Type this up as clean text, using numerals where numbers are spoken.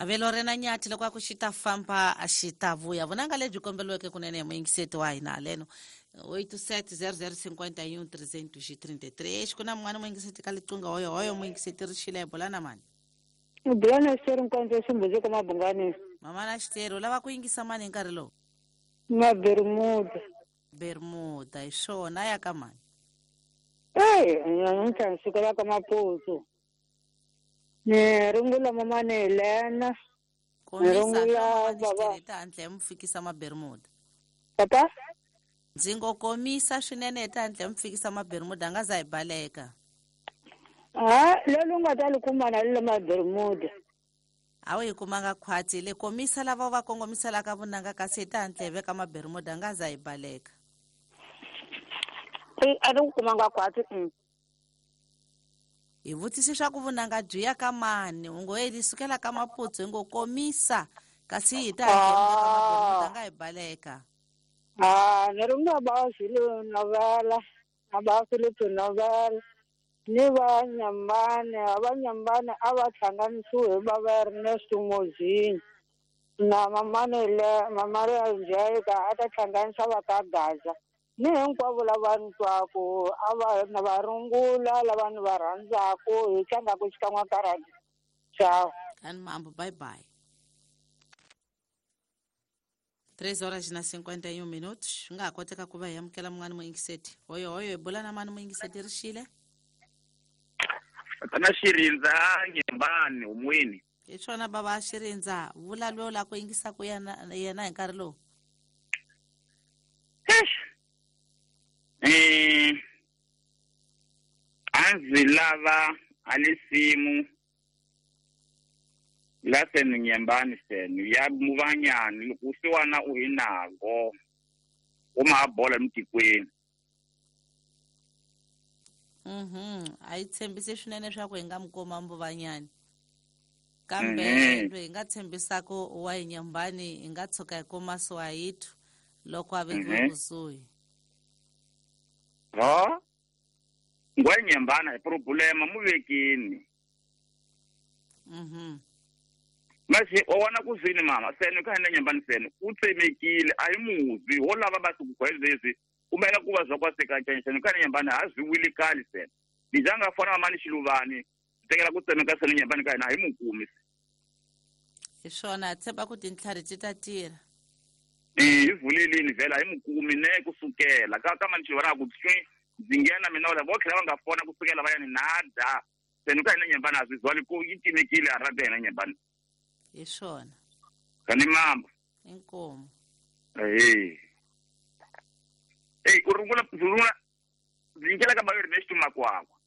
Avelo ri na nyathi loko a ku xi ta famba a xi ta vuya. Vunanga lebyi komberiweke kunene hi muyingiseti wa hina haleno 87 00 51 333. Ku na mun'wana muyingiseti ka liqingho hoyo hoyo muyingiseti ri xile hi bula na mani? U bula na Xiteri Nkondzo Ximbudzi ka Mabungani. Mama na Xiteri u lava ku yingisa mani hi nkarhi lowu? Na Bermuda. Bermuda hi swona ya ka mani? Eyi, namuntlha ni sukela ka Maputsu. Ni rungula mamani Helena. Ni Komisa rungula mamani baba. Xiteri hi ta hatla hi mu fikisa mabermuda. Papa? Ndzi ngo komisa swinene hi ta hatla hi mu fikisa mabermuda a nga za hi baleka. Ha, lolu nga ta li kuma na le mabermuda. A wu yi kumanga khwatsi le komisa lava u va kongomiselaka vunanga kasi hi ta hatla hi veka mabermuda a nga za hi baleka. E, a ni ku kumanga khwatsi. Hi vutise swa ku vunanga byi ya ka mani u ngo li sukela ka Maputsu hi ngo komisa kasi hi ta hatla hi veka mabermuda a nga hi baleka. Ah, ni rungula ba Zulu Novela, na ba Philip Novela. Ni va Nyambane, a va Nyambane a va hlanganisiwe hi va va Ernest Mozini. Na mamani le mamari Angelica a ta hlanganisa va ka Gaza. Ni hinkwavo lava ni twaku a va na va rungula lava ni va rhandzaku hi tlangaku xikan'we ka radio. Ciao. Kani mambo bye bye. 3 horas na 51 minutos. Swi nga ha koteka ku va hi amukela mun'wana muyingiseti. Hoyo hoyo hi bula na mani muyingiseti ri xile? Tana Xirindza Nyembani humweni. Hi swona baba Xirindza, vula loyi la ku yingisaka yena yena hi nkarhi lowu. A ndzi lava a lisimu la senu Nyembani senu ya Muvanyani loko usiwana u hi nago u ma bola emitikweni. A yi tshembisi swinene swa ku hi nga mi kuma Mbuvanyani. Kambe loyi hi nga tshembisaka wa hi Nyembani hi nga tshuka hi kuma Swahithu loko a vekiwe kusuhi. Ha? Ngwa Nyembana hi problema mu vekini. Mase o wana ku zwini mama senu ka hina Nyembani senu u tsemekile a hi muzi ho lava va ku gwezezi kumela ku va zwa kwa seka tshani senu ka hina Nyembani ha zwi wili kali senu. Ni janga fona mama ni Xiluvani tekela ku tsemeka senu Nyembani ka hina hi mukumi. Hi swona tshemba ku tintlhari ti ta tirha. Hi vulelini vhela hi mukumi ne kusukela ka ka mani Xiluvani a ku tswi ndzi nghena mina wala vo tlhela va nga fona kusukela va ya ni nada. Senu ka hina Nyembani a zwi zwali ku yi timekile a rada hina Nyembani. Hi swona. Kani mamba. Inkomu. Eh. Eh, ku rungula rungula ndzi nyikela ka Bayo Ernest Makwakwa.